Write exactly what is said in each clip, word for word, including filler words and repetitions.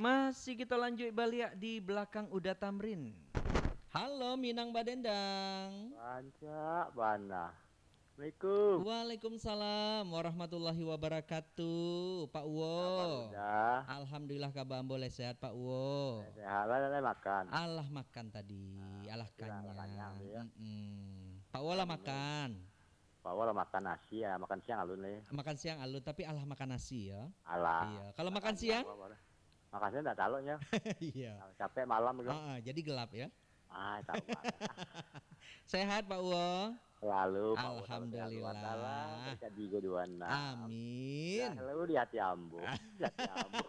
Masih kita lanjut baliak di belakang Uda Tamrin. Halo, Minang Badendang. Rancak bana. Assalamualaikum. Waalaikumsalam warahmatullahi wabarakatuh, Pak Uwo. Kabar Uda? Alhamdulillah, kabar ambo lai sehat, Pak Uwo. Sehat lah, lah makan? Alah makan tadi, alah kanyang. Alah kanyang tu, ya. Mm-mm. Pak Uwo lah makan? Pak Uwo lah makan nasi, ya, makan siang alun lai. Makan siang alun, tapi alah makan nasi, ya? Alah. Iya. Kalau makan siang? Makan siang tak taloknya. Iya. Capek malam tu. Ah, ah, jadi gelap, ya? Ah, tahu banget. Sehat, Pak Uwo? Selalu, Pak Uwo, selalu sehat, Alhamdulillah. Wasalam, terjadi keduaan. Amin. Ya, selalu di hati ambo. Di hati ambo.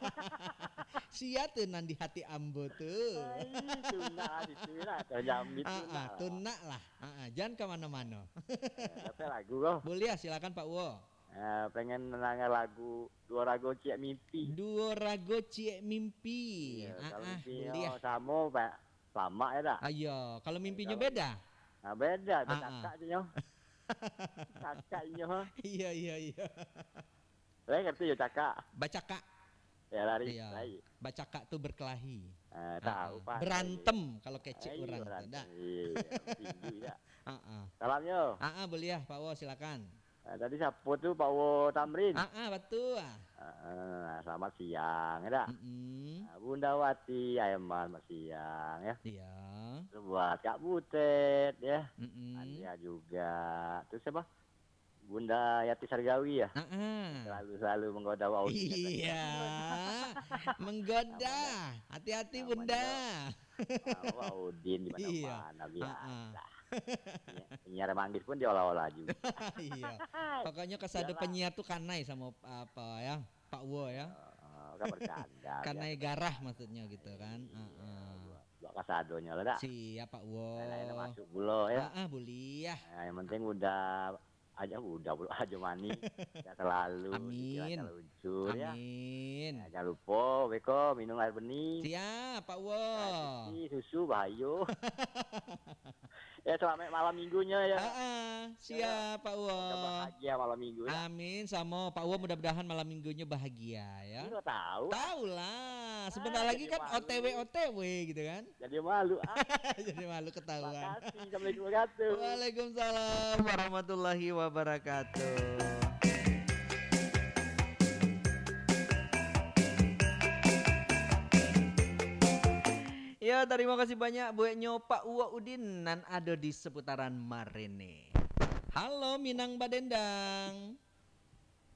Sia tu nan di hati ambo tu. Ai, tunak lah situ lah, terjamit. Ah, tunak lah. Ah, ah, jan ka mano-mano. Eh, apa lagu ko? Boleh, silakan, Pak Uwo. Eh, pengen nanya lagu Duo Rago Ciek Mimpi. Duo Rago Ciek Mimpi. Iya, ah, kalau ah, mimpi boleh. Samo, Pak. Lama ya tak? Ayo, kalau mimpinya beda? Nah, beda, ah, bacakak je nyo. Cakak inyo. Iya, iya, iya. Lai ngerti yo cakak? Bacakak. Ya, lari, iya, lari. Bacakak tu berkelahi. Ah, ah, tahu, ah. Pak. Berantem kalau kecek urang tu, berantem. Dah. Iya, tinju, ya. Ah, ah. Salamnyo. Ah, ah, boleh ya, Pak Wo, silakan. Ah, tadi siapo tu, Pak Wo Tamrin? Ah, ah, batua. Ah, ah, selamat siang, ya dak? Mm-mm. Ah, Bunda Wati, Aiman, selamat siang, ya. Iya. Terus buat Kak Butet, ya. Mm-mm. Andrea juga. Terus siapa? Bunda Yati Sargawi, ya? Ah, ah. Selalu-selalu menggoda Wak Udin, ya. Iya. Menggoda. Namanya, hati-hati, namanya Bunda. Ah, Wak Udin di mana-mana, iya, biasa. Ah, ah. Penyiar, penyiar manggis pun diolah-olah juga. Iya. Pokoknya kasado penyiar tu kanai samo, apa ya, Pak Wo ya. Iyalah. Ah, kan bercanda, kanai biasa. Garah maksudnya gitu kan. Iya, ah, ah. Buat, buat kasadonyo lah dak. Siap, Pak Wo. Lain-lain masuk pulo ya. Ah, ah, boleh ya. Nah, yang penting udah aja, udah pulo aja manis. Sehat selalu. Amin. Dilancar luncur ya. Amin. Ya, jangan lupa, beko minum air bening. Siap, Pak Wo. Air putih, susu, bahayo. Ya, selamat malam minggunya ya. Ah, ah, siap, Pak Wo. Semoga bahagia malam minggu ya. Amin, samo Pak Wo, mudah-mudahan malam minggunya bahagia ya. Ini kok tahu? Tahu lah, sebentar lagi kan O T W, O T W gitu kan. Jadi malu, ah. Jadi malu ketahuan. Makasih, assalamualaikum warahmatullahi. Waalaikumsalam warahmatullahi wabarakatuh. Ya, tarimo kasih banyak bueknyo Pak Uwak Udin nan ado di seputaran marene. Halo, Minang Badendang.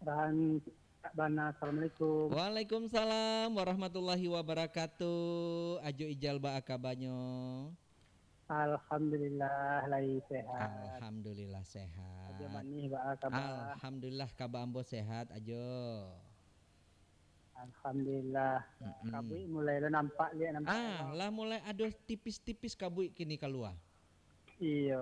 Rancak bana, assalamualaikum. Waalaikumsalam warahmatullahi wabarakatuh. Ajo Ijal, baa kabanyo? Alhamdulillah, lai sehat. Alhamdulillah, sehat. Ajo Manih, baa kaba? Alhamdulillah, kaba ambo sehat, Ajo. Alhamdulillah. Mm-mm. Kabuik mulai lo nampak, liek nampak. Ah, lo. Lah mulai ado tipis-tipis kabuik kini kalua. Iyo.